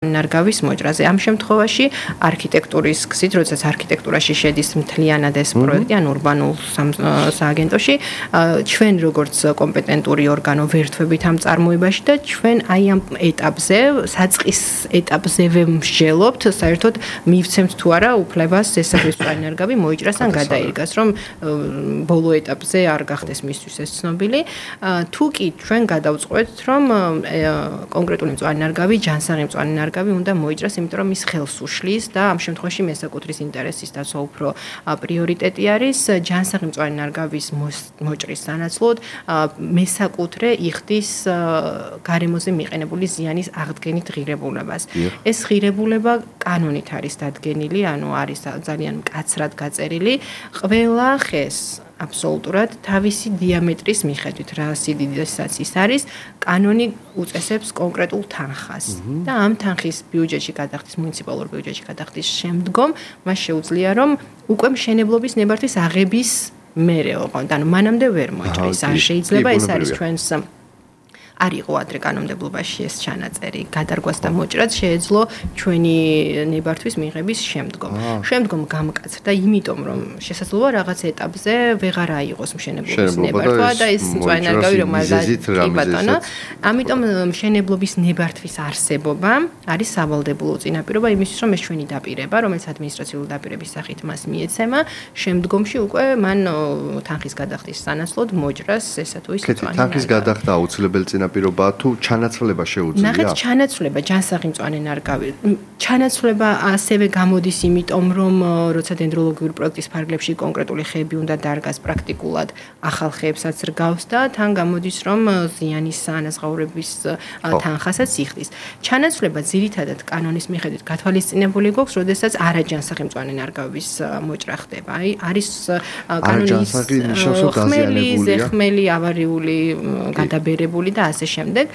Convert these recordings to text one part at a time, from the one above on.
ნარგავის მოჭრაზე. Ამ შემთხვევაში არქიტექტურის გზით, როდესაც არქიტექტურაში შედის მთლიანად ეს პროექტი, ან ურბანულ სააგენტოში, ჩვენ როგორც კომპეტენტური ორგანო ვერთვებით ამ წარმოებაში და ჩვენ აი ამ ეტაპზე, საწყის ეტაპზევე მსჯელობთ, საერთოდ მივცემთ თუ არა უფლებას ესაგრისმწვარი ნარგავი მოიჭრას ან გადაირგას, რომ ბოლო ეტაპზე არ გახდეს მისთვის ეს ცნობილი. თუ კი ჩვენ გადავწყვეტთ, რომ კონკრეტული მწვარი ნარგავი, ჯანსაღი მწვარი ნარგავი უნდა მოიჭრას, იმიტომ რომ ის ხელს უშლის და ამ შემთხვევაში მესაკუთრის ინტერესის დაცვა უფრო პრიორიტეტი არის. ჯანსაღი მწვარი ნარგავის მოჭრის სანაცვლოდ მესაკუთრე იხდის გარემოზე მიყენებული ზიანის აღდგენით ღირებულებას. ეს ღირებულება კანონით არის დადგენილი, ანუ არის ძალიან მკაცრად გაწერილი. ყველა ხეს აბსოლუტურად თავისი დიამეტრის მიხედვით, რა სიდიდესაც ის არის, კანონი უწესებს კონკრეტულ თანხას. და ამ თანხის ბიუჯეტში გადახდის, მუნიციპალურ ბიუჯეტში გადახდის შემდგომ, მას შეუძლია, რომ უკვე მშენებლობის ნებართვის აღების მერე ოღონდ, ანუ მანამდე ვერ მოჭრის. არ შეიძლება, ეს არის ჩვენს არ იყო ადრე კანონმდებლობაში ეს ჩანაწერი, გადარგვას და მოჭრაც შეეძლო ჩვენი ნებართვის მიღების შემდგომ. შემდგომ გამკაცრდა, იმიტომ რომ შესაძლოა რაღაც ეტაპზე ვეღარ აიღოს მშენებლობის ნებართვა და ეს მწვარი ნარგავი რომ არ კი ბატონო. ამიტომ მშენებლობის ნებართვის არსებობა არის სავალდებულო წინაპირობა იმისთვის, რომ ეს ჩვენი დაპირება, რომელიც ადმინისტრაციული დაპირების სახით მას მიეცემა, შემდგომში უკვე მან თანხის გადახდის სანაცვლოდ მოჭრას ესა თუ ის მწვარი ნარგავი. თანხის გადახდა აუცილებელი პირობა თუ ჩანაცვლება შეუძლია? ნახეთ, ჩანაცვლება ჯანსაღი მწვანე ნარგავი. ჩანაცვლება ასევე გამოდის იმიტომ, რომ როცა დენდროლოგიური პროექტის ფარგლებში კონკრეტული ხეები უნდა დარგას პრაქტიკულად ახალ ხეებსაც რგავს და თან გამოდის, რომ ზიანის ანაზღაურების თანხასაც იხდის. ჩანაცვლება ძირითადად კანონის მიხედვით გათვალისწინებული გვაქვს, როდესაც არაჯანსაღი მწვანე ნარგავების მოჭრა ხდება. აი, არის კანონის ხმელი, ზეხმელი, ავარიული, გადაბერებული და ასე შემდეგ.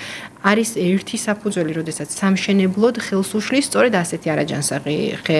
არის ერთი საფუძველი, როდესაც სამშენებლოდ ხელს უშლის სწორედ ასეთი არაჯანსაღი ხე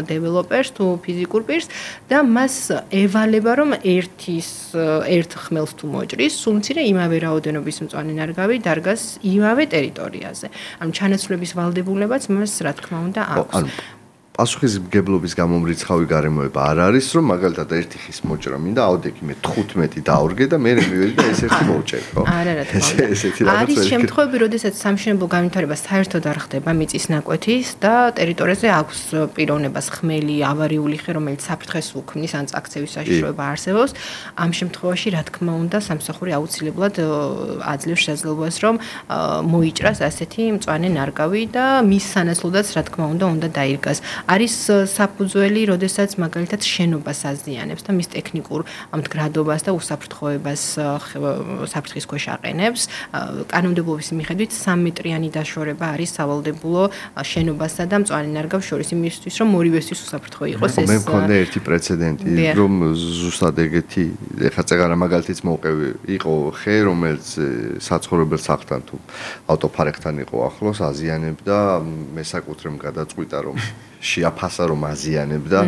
დეველოპერს თუ ფიზიკურ პირს და მას ევალება, რომ ერთ ხმელს თუ მოჭრის, სულ მცირე იმავე რაოდენობის მწვანე ნარგავი დარგას იმავე ტერიტორიაზე. ანუ ჩანაცვლების ვალდებულებაც მას, რა თქმა უნდა, აქვს. პასუხისმგებლობის გამომრიცხავი გარემოება არ არის, რომ მაგალითად ერთი ხის მოჭრა მინდა ავდექი მე 15 დავრგე და მე მივედი და ეს ერთი მოვჭერ, ხო? არა, რა თქმა უნდა. არის შემთხვევები, როდესაც სამშენებლო განვითარება საერთოდ არ ხდება მიწის ნაკვეთის და ტერიტორიაზე აქვს პიროვნებას ხმელი, ავარიული ხე, რომელიც საფრთხეს უქმნის ან წაქცევის საშიშროება არსებობს. ამ შემთხვევაში, რა თქმა უნდა, სამსახური აუცილებლად აძლევს შესაძლებლობას, რომ მოიჭრას ასეთი მწვანე ნარგავი და მის სანაცვლოდაც, რა თქმა უნდა დაირგას. არის საფუძველი, როდესაც მაგალითად შენობას აზიანებს და მის ტექნიკურ მდგრადობას და უსაფრთხოებას საფრთხის ქვეშ აყენებს. კანონმდებლობის მიხედვით 3 მეტრიანი დაშორება არის სავალდებულო შენობასა და მწვანე ნარგავს შორის იმისთვის, რომ ორივესთვის უსაფრთხო იყოს ეს. მე მქონდა ერთი პრეცედენტი, რომ ზუსტად ეგეთი, ეხლა წეგარა მაგალითიც მოვყევი, იყო ხე, რომელიც საცხოვრებელ სახლთან თუ ავტოფარეხთან იყო ახლოს, აზიანებდა, მესაკუთრემ გადაწყვიტა, რომ შეაფასა, რომ აზიანებდა,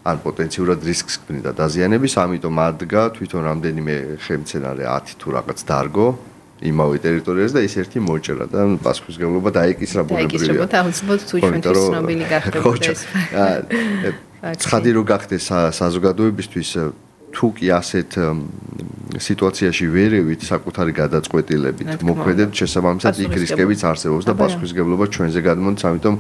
ან პოტენციურად რისკს ქმნიდა დაზიანების, ამიტომ ადგა თვითონ რამდენიმე ხემცენარე 10 თუ რაღაც დარგო იმავე ტერიტორიაზე და ის ერთი მოჭრა და პასუხისმგებლობა დაიკისრა ბუნებრივია. დაიკისრება აუცილებლად თუ ჩვენთვის ცნობილი გახდებოდა ეს. ცხადი რო გახდეს საზოგადოებისთვის თუ კი ასეთ სიტუაციაში ვერევით საკუთარი გადაწყვეტილებით მოქმედებს, შესაბამისად იქ რისკებიც არსებობს და პასუხისმგებლობა ჩვენზე გადმოდის, ამიტომ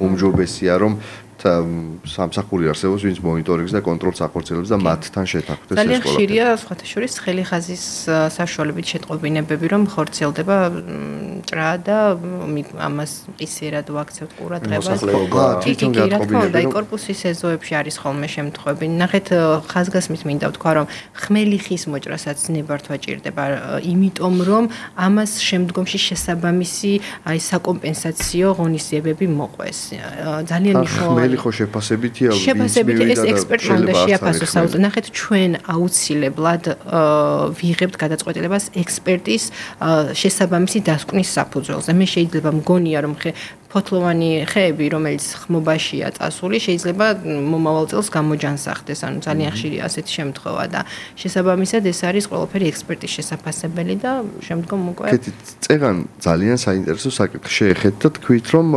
უმჯობესია, რომ სამსახური არსებობს, ვინც მონიტორინგს და კონტროლს ახორციელებს და მათთან შეთანხმდეს ეს ძალიან ხშირია, სხვათა შორის ხელი ხაზის საშუალებით შეტყობინებები, რომ ხორციელდება ჭრა და ამას ისერად ვაქცევთ ყურადღებას. თვითონ გატყობინებები. კორპუსის ეზოებში არის ხოლმე შემთხვევები. ნახეთ, ხაზგასმით მინდა ვთქვა, რომ ხმელი ხის მოჭრასაც ნებართვა ჭირდება, იმიტომ რომ ამას შემდგომში შესაბამისი აი საკომპენსაციო ღონისძიებები მოყვეს. ძალიან მნიშვნელოვანია. ხო შეფასებითია შეფასებით ეს ექსპერტმა უნდა შეაფასოს საუბარი. ნახეთ ჩვენ აუცილებლად ვიღებთ გადაწყვეტილებას ექსპერტის შესაბამისი დასკვნის საფუძველზე. მე შეიძლება მგონია რომ ფოთლოვანი ხეები, რომელიც ხმობაშია წასული, შეიძლება მომავალ წელს გამოჯანსახდეს, ანუ ძალიან ხშირია ასეთი შემთხვევა და შესაბამისად ეს არის ყველაფერი ექსპერტის შესაფასებელი და შემდგომ უკვე კეთით, წეგან ძალიან საინტერესო საკითხი შეეხეთ და თქვით რომ